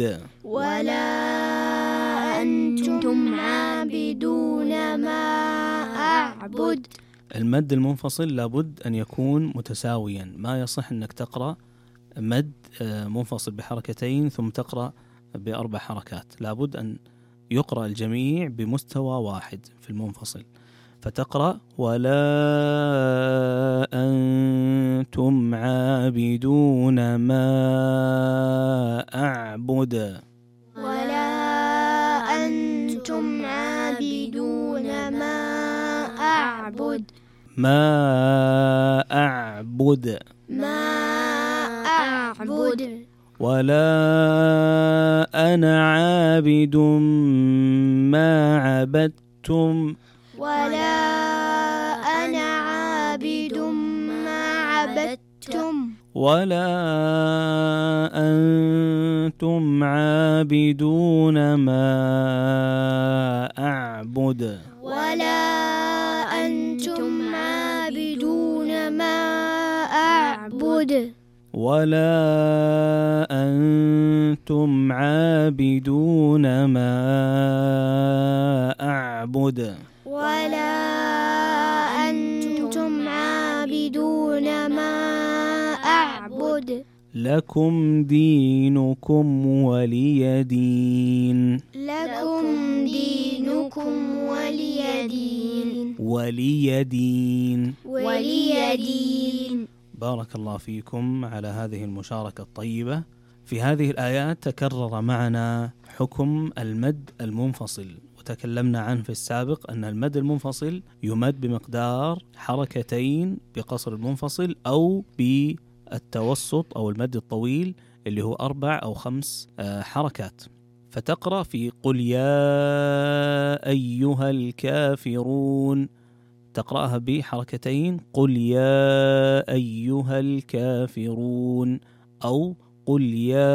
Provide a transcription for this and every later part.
أعبد ولا أنتم عابدون ما أعبد. المد المنفصل لابد أن يكون متساويا، ما يصح أنك تقرأ مد منفصل بحركتين ثم تقرأ ب4 حركات، لابد أن يقرأ الجميع بمستوى واحد في المنفصل. فتقرأ ولا أنتم عابدون ما أعبد، ولا أنتم عابدون ما أعبد، ما أعبد، ما أعبد. ولا أنا عابد ما عبدتم، ولا أنا عابد ما عبدتم، ولا أنتم عابدون ما أعبد، ولا أنتم عابدون ما أعبد، ولا أنتم عابدون ما أعبد، ولا أنتم عابدون ما أعبد. لكم دينكم ولي دين، لكم دينكم ولي دين، ولي دين، ولي دين. بارك الله فيكم على هذه المشاركة الطيبة. في هذه الآيات تكرر معنا حكم المد المنفصل، وتكلمنا عنه في السابق أن المد المنفصل يمد بمقدار حركتين بقصر المنفصل أو بالتوسط أو المد الطويل اللي هو 4 أو 5 حركات. فتقرأ في قل يا أيها الكافرون، تقرأها بحركتين، قل يا أيها الكافرون، أو قل يا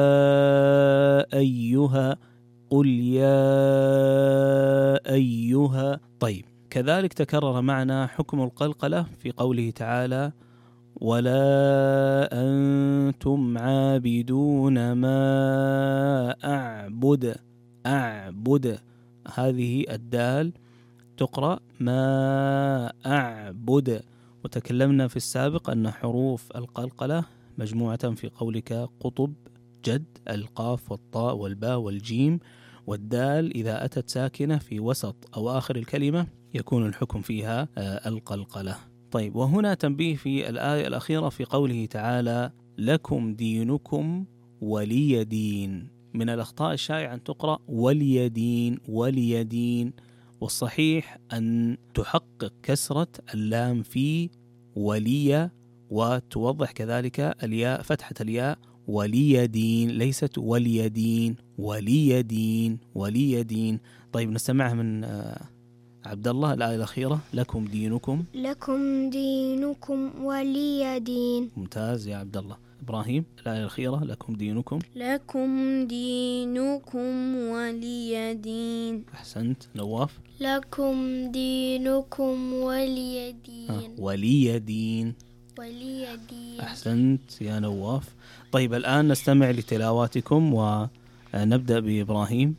أيها، قل يا أيها. طيب، كذلك تكرر معنا حكم القلقلة في قوله تعالى ولا أنتم عابدون ما أعبد، أعبد، هذه الدال تقرأ ما أعبد. وتكلمنا في السابق أن حروف القلقلة مجموعة في قولك قطب، جد، القاف والطاء والباء والجيم والدال إذا أتت ساكنة في وسط أو آخر الكلمة يكون الحكم فيها القلقلة. طيب، وهنا تنبيه في الآية الأخيرة في قوله تعالى لكم دينكم ولي دين. من الأخطاء الشائعة أن تقرأ ولي دين، ولي دين، والصحيح أن تحقق كسرة اللام في ولي، وتوضح كذلك الياء، فتحة الياء، ولي دين، ليست ولي دين، ولي دين، ولي دين. طيب، نستمعها من عبد الله الآية الأخيرة لكم دينكم، لكم دينكم ولي دين. ممتاز يا عبد الله. إبراهيم الآية الأخيرة لكم دينكم، لكم دينكم ولي دين. أحسنت. نواف لكم دينكم ولي دين، ولي دين، ولي دين. أحسنت يا نواف. طيب، الآن نستمع لتلاواتكم ونبدأ بإبراهيم.